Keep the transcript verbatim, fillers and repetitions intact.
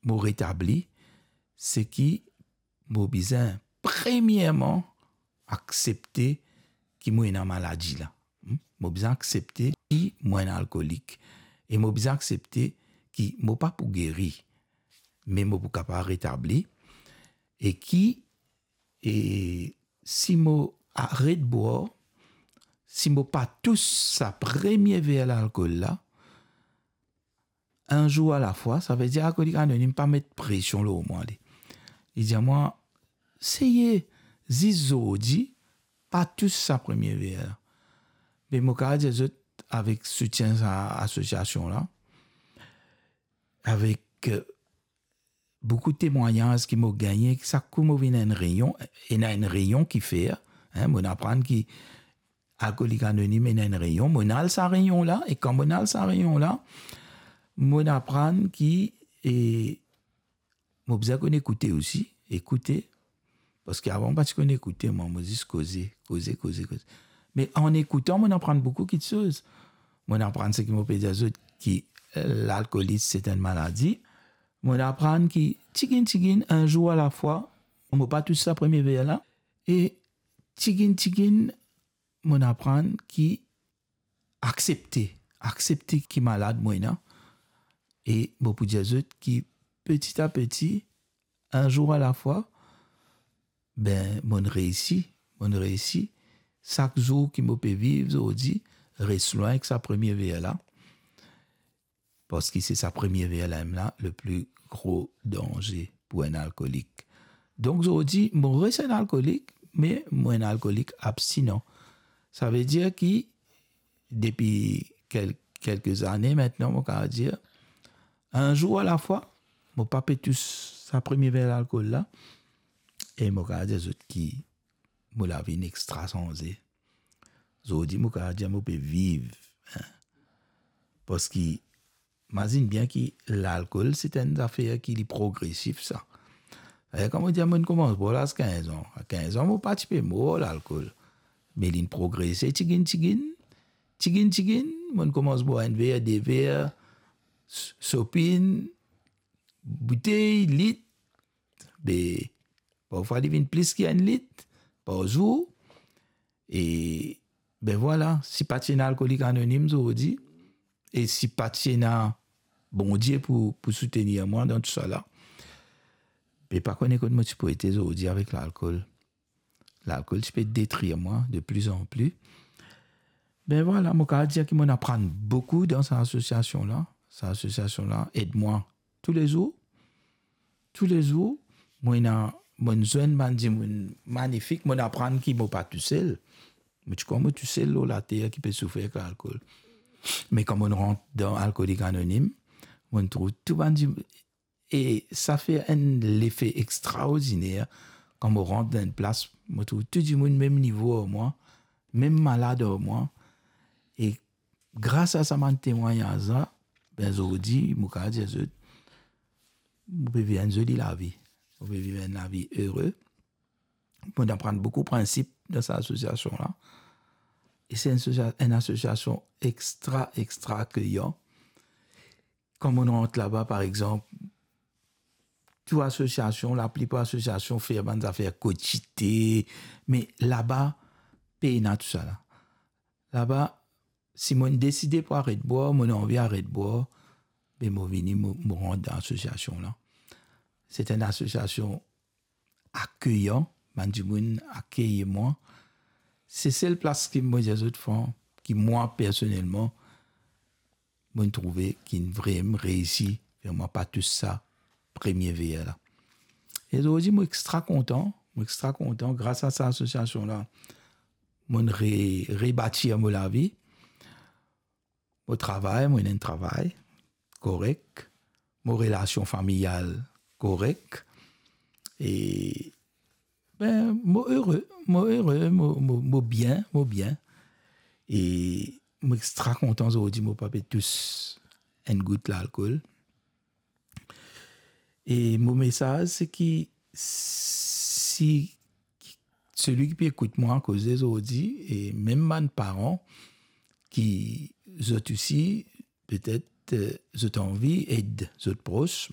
mo retabli, se ki mo bizin premierman aksepte ki mo ena maladi la. Hmm? Mo bizin aksepte ki mo enn alkolik. E mo bizin aksepte ki mo pa pou geri, me mo pou kapav retabli. E ki, e si mo aret bwar, si mo pa tous sa premie ver lalkol la, enn zour alafwa, savedir Alkolik Anonim pa met presion lor mwa, li. Li dir mwa, "Seye, zis zordi, pa tous sa premie ver la." Me mo kapav dir zot, avek soutien sa asosiasion la, avek, eh, boukou temwagnaz ki mo gagne, sak kou mo vinn enn reynion, ena enn reynion ki fer, hein, mo'nn aprann ki Alkolik Anonim ena enn reynion, mo'nn al sa reynion la, e kan mo'nn al sa reynion la, mo'nn aprann ki, e, mo bizin konn ekoute osi, ekoute, parski avan mo pa ti konn ekoute, mwa, mo zis koze, koze, koze, koze. Me an ekoutan, mo'nn aprann boukou kiksoz. Mo'nn aprann seki mo pe dir zot ki, eh, lalkolis se enn maladi. Mo'nn aprann ki tiginn, tiginn, enn zour alafwa, mo pa tous sa premie ver la, e tiginn, tiginn, mo'nn aprann ki aksepte, aksepte ki malad mo ena, e mo pou dir zot ki peti a peti, enn zour alafwa, be, mo'nn reisi, mo'nn reisi. Sak zour ki mo pe viv zordi, res lwin ek sa premie ver la, parski se sa premie ver la mem la, le pli gro danze pou enn alkolik. Donk, zordi, mo res enn alkolik, me mo enn alkolik abstinan. Savedir ki depi kel-, kelke zane aster, mo kapav dir, enn zour alafwa, mo pa pe tous sa premie ver lalkol la, e mo kapav dir zot ki mo lavi inn extra sanze. Zordi, mo kapav dir mo pe viv, hein. Parski, mazinn bien ki lalkol, se enn zafer ki li progresif, sa. Savedir, kan mo dir, mo'nn koumans bwar la a kinz an. A kinz an, mo pa ti pe mor lalkol. Me li'nn progrese tiginn, tiginn, tiginn, tiginn. Mo'nn koumans bwar enn ver, de ver, s-, sopinn, boutey, lit. Be, parfwa li vinn plis ki enn lit par zour. E, be vwala, si pa ti ena Alkolik Anonim zordi, e si pa ti ena Bondie pou, pou soutenir mwa dan tousala, be pa kone kot mo ti pou ete zordi avek lalkol. Lalkol ti pe detrir mwa de pli an pli. Be vwala, mo kapav dir ki mo'nn aprann boukou dan sa asosiasion la. Sa asosiasion la ed mwa toulezour. Toulezour, mo ena, mo'nn zwenn bann dimoun manifik, mo'nn aprann ki mo pa tousel. Mo ti krwar mo tousel lor later ki pe soufer ek lalkol. Me kan mo'nn rant dan Alkolik Anonim, mo'nn trouv tou bann dimoun, e sa fer enn lefe extraordiner. Kan mo rant dan enn plas, mo trouv tou dimoun mem nivo ar mwa, mem malad ar mwa. E gras a sa bann temwagnaz la, be zordi, mo kapav dir zot, mo pe viv enn zoli lavi. Mo pe viv enn lavi ere. Mo'nn aprann boukou prinsip dan sa asosiasion la. E se enn asosia-, enn asosiasion extra, extra akeyan. Kan mo'nn rant laba, par exanp, tou asosiasion, laplipar asosiasion fer bann zafer kotite, me laba, pena tousala. Laba, si mo'nn deside pou aret bwar, mo'nn anvi aret bwar, be mo vini, mo, mo rant dan asosiasion la. Se enn asosiasion akeyan, bann dimoun akeyir mwa. Se sel plas ki mo dir zot fran, ki mwa personelman, mo'nn trouve ki'nn vremem reisi fer mwa pa tous sa premie ver la. E zordi, mo extra kontan, mo extra kontan, gras a sa asosiasion la, mo'nn re-, rebatir mo lavi. Mo travay, mo ena enn travay korek. Mo relasion familial korek. E, be, mo ere, mo ere, mo, mo, mo bien, mo bien. E mo extra kontan zordi, mo pa pe tous enn gout lalkol. E mo mesaz, se ki si selwi ki pe ekout mwa koze zordi, e mem bann paran ki zot osi, petet, eh, zot anvi ed zot pros,